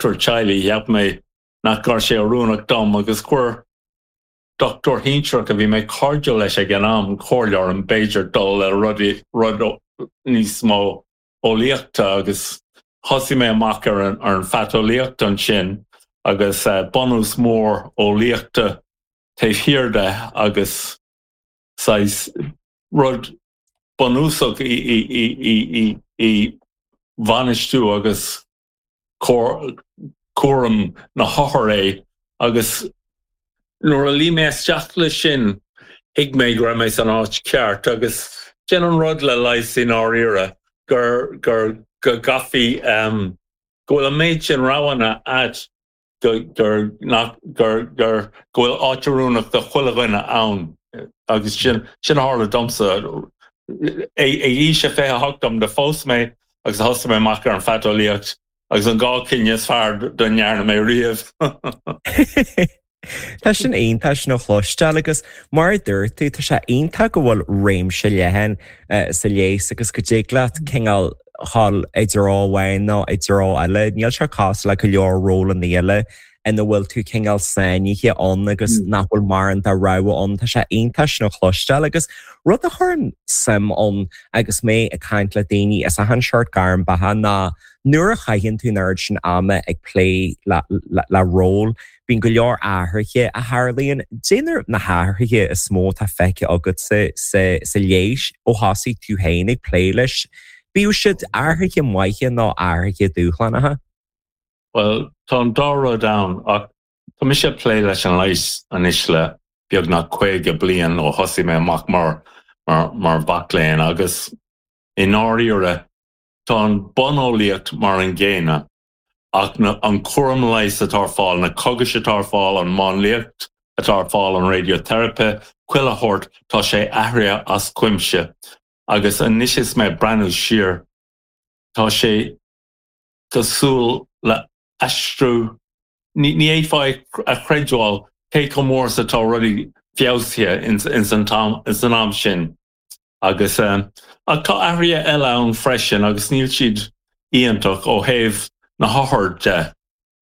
dochtúir teaghlaigh, cheap mé nach raibh sé oiriúnach dom agus chuir dochtúir shinsearach a bhí mé cairdiúil leis ag an am comhairle orm b'fhéidir dul le rud níos mó eolaíochta agus thosaigh mé amach ar an ar an phaiteolaíocht ansin agus bunús mór eolaíochta taobh thiar de agus saghas rud bunúsach i bhainistiú agus cúram na hothar é agus nuair a luigh mé isteach leis sin thuig mé go raibh mé san áit cheart agus sin an rud le leigheas i ndáiríre gur gur go gcaithfí go bhfuil an méid sin roghanna a'd go gur nach gur gur go bhfuil áit oiriúnach do chuile dhuine ann agus sin sin a tharla domsa. Ag aois a 28 dom do phós mé agus thosaigh mé amach ar an phaiteolaíocht agus an dá chinneadh is fearr dá ndearna mé riamh. Tá sin iontach sin a chloisteáil agus mar a dúirt tú, tá sé iontach go bhfuil réimse leathan sa leigheas agus go dtig leat cineál dhul i dtreo amháin nó i dtreo eile. Níl sé cosúil le go leor rólanna eile ina bhfuil tú cineál sáinnithe ann agus nach bhfuil mórán de rogha ann. Tá sé iontach sin a chloisteáil agus rud a chuireann suim ann agus mé ag caint le daoine as achan seort gairm beatha ná nuair a chaitheann tú an oiread sin ama ag plé le ról, bíonn go leor athruithe a tharlaíonn. Cad iad na hathruithe is mó atá feicthe agatsa sa leigheas ó thosaigh tú féin ag plé leis, bíodh siad athruithe maithe nó athruithe dúshlánacha? Bhuel, tá an dá rud ann, ach tá mise ag plé leis an leigheas anois le beagnach 50 bliain ó thosaigh mé amach mar mar mhac léinn agus i ndáiríre tá an buneolaíocht mar an gcéanna ach na an cúram leighis atá ar fáil, na cógais atá ar fáil, an mháinliacht atá ar fáil, an raidiotherapy, chuile shórt, tá sé athraithe as cuimse agus anois is mé ag breathnú siar tá sé cosúil le aistriú, ní fhéadfá a chreidbheáil cé chomh mór is atá rudaí feabhsaithe ins an am sin. Agus, ach tá athruithe eile ann freisin agus níl siad iontach ó thaobh na hothair de.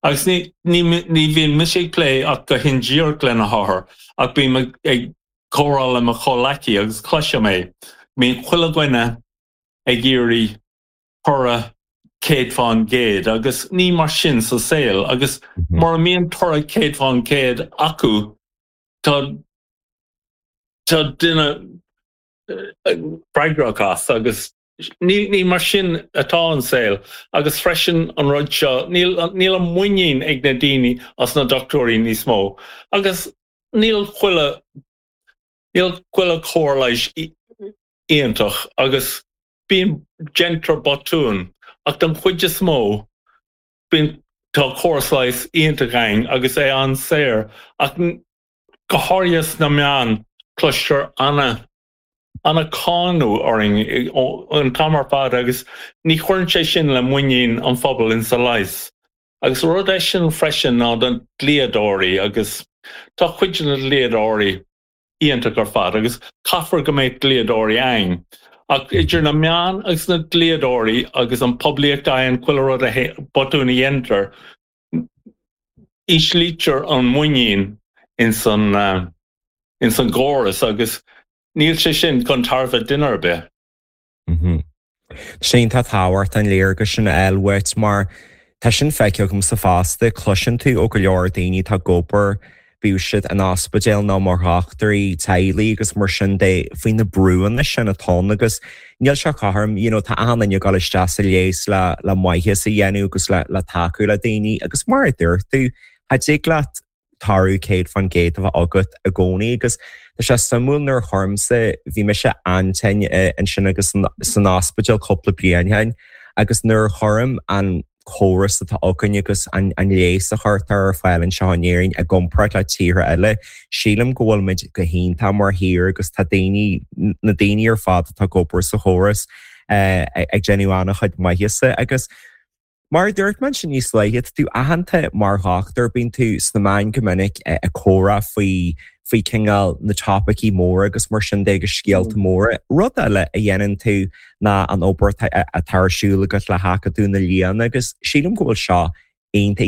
Agus ní, ní, ní bhíonn mise ag plé ach go hindíreach le na hothair ach bím ag comhrá le mo chomhleacaí agus cloisim é, bíonn chuile dhuine ag iarraidh toradh 100% agus ní mar sin sa saol agus mura mbíonn toradh 100% acu tá tá duine freagrach as agus ní ní mar sin atá an saol agus freisin an rud seo níl níl an muinín ag na daoine as na dochtúirí níos mó agus níl chuile níl chuile chóir leighis iontach agus bíonn déantar botúin ach don chuid is mó bíonn tá córas leighis iontach againn agus é an-saor ach go háirithe sna meáin cloistear ana ana-cáineadh orainn an t-am ar fad agus ní chuireann sé sin le muinín an phobail insa leigheas. Agus rud eisean freisin ná na dlíodóirí agus tá cuid de na dlíodóirí iontach ar fad agus caithfear go mbeadh dlíodóirí againn. Ach idir na meáin agus na dlíodóirí agus an poiblíocht a fhaigheann chuile rud a botún a dhéantar, íslítear an muinín ins an ins an gcóras agus níl sé sin chun tairbhe duine ar bith. Sin tá tábhacht an léargas sin a fháil uait mar tá sin feicthe agamsa fosta, cloiseann tú ó go leor daoine atá ag obair, bíodh siad in ospidéal nó mar dhochtúirí teaghlaigh agus mar sin de, faoi na brúanna sin atá ann agus níl sé cothrom, you know, tá achan duine ag dul isteach sa leigheas le le maitheas a dhéanamh agus le le tacú le daoine agus mar a dúirt tú, cha dtig leat toradh 100% a bheith agat i gcónaí agus tá sé suimiúil nuair a chuirimse, bhí mise an-tinn ansin agus san ospidéal cúpla bliain ó shin agus nuair a chuirim an córas atá againn agus an leigheas a chuirtear ar fáil anseo in Éirinn i gcomparáid le tíortha eile, sílim go bhfuil muid go hiontach mar thír agus tá daoine, na daoine ar fad atá ag obair sa chóras ag déanamh an-chuid maitheasa agus. Mar a dúirt mé ansin níos luaithe, tá tú aitheanta mar dhochtúir, bíonn tú sna meáin go minic ag comhrá faoi faoi cineál na topaicí móra agus mar sin de agus scéalta móra. Rud eile a dhéanann tú ná an obair atá ar siúl agat le hAcadamh na Lianna agus sílim go bhfuil seo iontach.